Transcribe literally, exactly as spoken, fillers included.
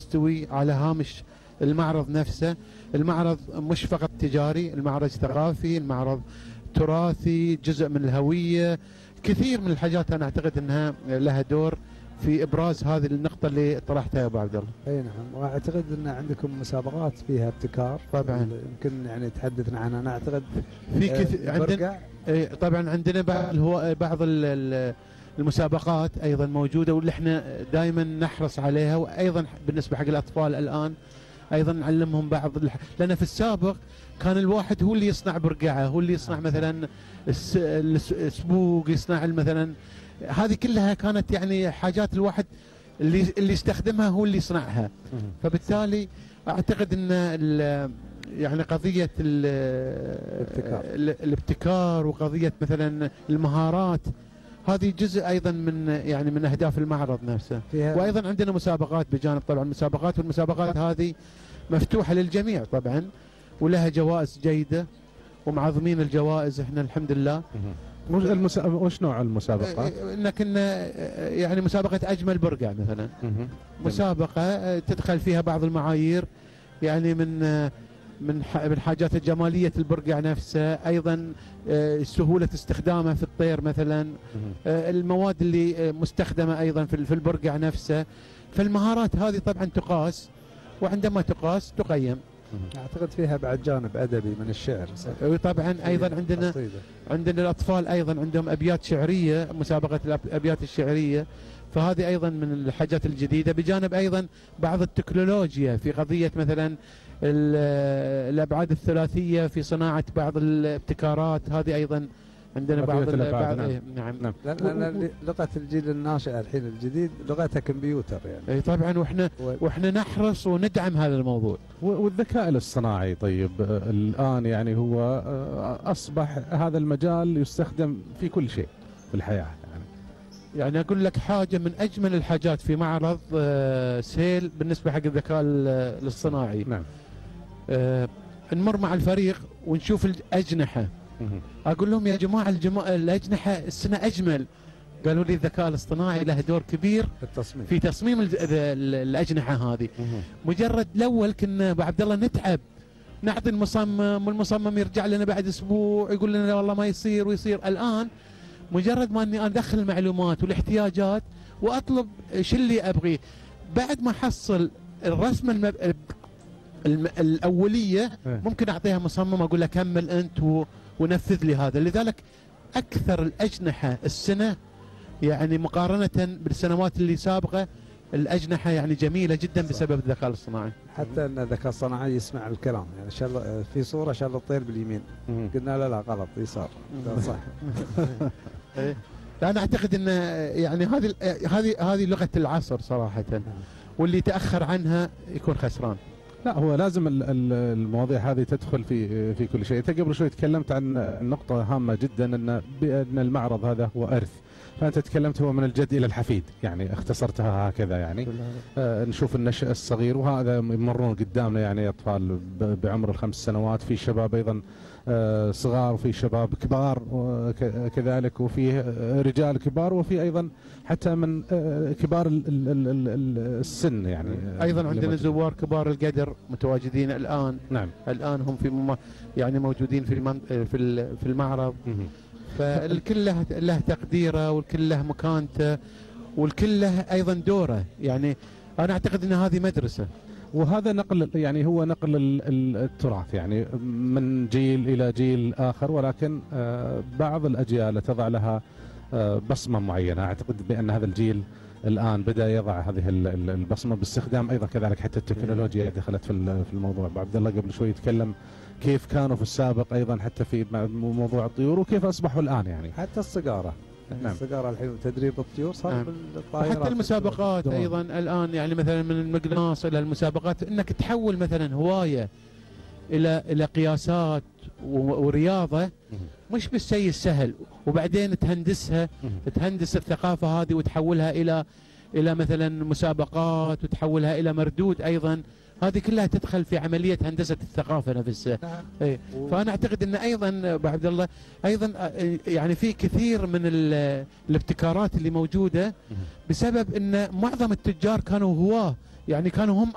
يستوي على هامش المعرض نفسه. المعرض مش فقط تجاري، المعرض ثقافي، المعرض تراثي، جزء من الهوية، كثير من الحاجات أنا أعتقد أنها لها دور في إبراز هذه النقطة اللي طرحتها يا أبو عبد الله. أي نعم، وأعتقد أن عندكم مسابقات فيها ابتكار طبعا، يمكن يعني تحدثنا عنها. أنا أعتقد في كثير عندنا، طبعا عندنا بعض هو بعض المسابقات أيضا موجودة واللي احنا دائما نحرص عليها، وأيضا بالنسبة حق الأطفال الآن أيضا نعلمهم بعض الح... لأن في السابق كان الواحد هو اللي يصنع برقعة، هو اللي يصنع مثلا الس... السبوق، يصنع مثلا، هذه كلها كانت يعني حاجات الواحد اللي اللي يستخدمها هو اللي يصنعها. فبالتالي أعتقد أن ال... يعني قضية ال... الابتكار. الابتكار وقضية مثلا المهارات، هذه جزء أيضا من يعني من أهداف المعرض نفسه. وأيضا عندنا مسابقات بجانب طبعا المسابقات، والمسابقات هذه مفتوحة للجميع طبعا، ولها جوائز جيدة ومعظمين الجوائز احنا الحمد لله. وش المسا... وش نوع المسابقات؟ انك يعني مسابقة أجمل برقع مثلا، مسابقة تدخل فيها بعض المعايير يعني من من من حاجات الجمالية البرقع نفسه، أيضا سهولة استخدامه في الطير مثلا، المواد اللي مستخدمة أيضا في البرقع نفسه. فالمهارات هذه طبعا تقاس، وعندما تقاس تقيم. أعتقد فيها بعد جانب أدبي من الشعر. طبعا أيضا عندنا قصيدة. عندنا الأطفال أيضا عندهم أبيات شعرية، مسابقة الأبيات الشعرية، فهذه أيضا من الحاجات الجديدة، بجانب أيضا بعض التكنولوجيا في قضية مثلا الأبعاد الثلاثية في صناعة بعض الابتكارات، هذه أيضا عندنا بعض الأبعاد. نعم, نعم. نعم. لأن لغة الجيل الناشئ الحين الجديد لغتها كمبيوتر يعني. أي طبعا، وإحنا و... وإحنا نحرص وندعم هذا الموضوع. والذكاء الاصطناعي طيب الآن يعني هو أصبح هذا المجال يستخدم في كل شيء في الحياة. يعني أقول لك حاجة من أجمل الحاجات في معرض سيل بالنسبة حق الذكاء الاصطناعي. نعم. آه نمر مع الفريق ونشوف الأجنحة، أقول لهم يا جماعة الجما... الأجنحة السنة أجمل. قالوا لي الذكاء الاصطناعي له دور كبير في التصميم، في تصميم الأجنحة هذه. مجرد الأول كنا أبو عبد الله نتعب، نعطي المصمم والمصمم يرجع لنا بعد أسبوع يقول لنا والله ما يصير ويصير. الآن مجرد ما اني ادخل المعلومات والاحتياجات واطلب شو اللي ابغيه، بعد ما احصل الرسمه المب... الم... الاوليه ممكن اعطيها مصمم اقول له كمل انت و... ونفذ لي هذا. لذلك اكثر الاجنحه السنه يعني مقارنه بالسنوات اللي سابقه الأجنحة يعني جميلة جدا بسبب الذكاء الاصطناعي. حتى أن الذكاء الاصطناعي يسمع الكلام، يعني شل في صورة شل الطير باليمين، قلنا لا لا غلط يسار صح. أنا أعتقد أن يعني هذه هذه هذه لغة العصر صراحة، واللي تأخر عنها يكون خسران. لا هو لازم المواضيع هذه تدخل في في كل شيء. أنت قبل شوي تكلمت عن نقطة هامة جدا، أن بأن المعرض هذا هو إرث، فأنت تكلمت هو من الجد إلى الحفيد، يعني اختصرتها هكذا يعني. آه نشوف النشء الصغير وهذا يمرون قدامنا يعني أطفال بعمر الخمس سنوات، في شباب أيضا آه صغار وفي شباب كبار كذلك، وفي رجال كبار، وفي أيضا حتى من آه كبار ال ال ال ال السن يعني. أيضا عندنا زوار كبار القدر متواجدين الآن. نعم. الآن هم في يعني موجودين في المن في في المعرض. فالكل له له تقديره، والكل له مكانته، والكل له ايضا دوره. يعني انا اعتقد ان هذه مدرسه، وهذا نقل يعني هو نقل التراث يعني من جيل الى جيل اخر، ولكن بعض الاجيال تضع لها بصمه معينه. اعتقد بان هذا الجيل الان بدا يضع هذه البصمه باستخدام ايضا كذلك حتى التكنولوجيا دخلت في الموضوع. ابو عبد الله قبل شوي يتكلم كيف كانوا في السابق ايضا حتى في موضوع الطيور، وكيف اصبحوا الان يعني حتى الصقاره. نعم. الصقاره الحين تدريب الطيور صار نعم. بالطائرات. حتى المسابقات ايضا الان يعني مثلا من المقناص الى المسابقات، انك تحول مثلا هوايه الى الى قياسات ورياضه مش بالشيء السهل، وبعدين تهندسها تهندس الثقافه هذه وتحولها الى الى مثلا مسابقات، وتحولها الى مردود ايضا. هذه كلها تدخل في عملية هندسة الثقافة نفسها. نعم. إيه. فأنا أعتقد أن أيضا أبو عبد الله أيضا يعني في كثير من الابتكارات اللي موجودة بسبب أن معظم التجار كانوا هواة، يعني كانوا هم